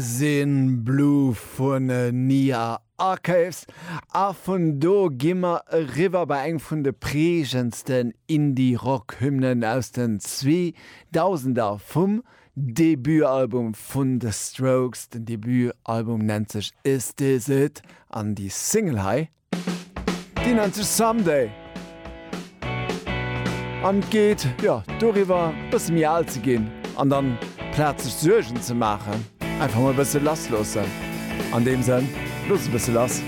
Sinn Blue vun Nia Archives a vun do gi mer eriwwer bei eng vun de prägendsten Indie-Rock-Hymnen aus den Zweedausender vum Debutalbum vun The Strokes. Den Debutalbum nennt sech Is This It an déi Single hei Déi nennt sech Someday an et geet, jo, doriwwer e bësse méi al ze ginn an dann plaz sech Suergen ze maachen, einfach mol e bësse lass loossen. An deem Sënn, looss e bësse lass.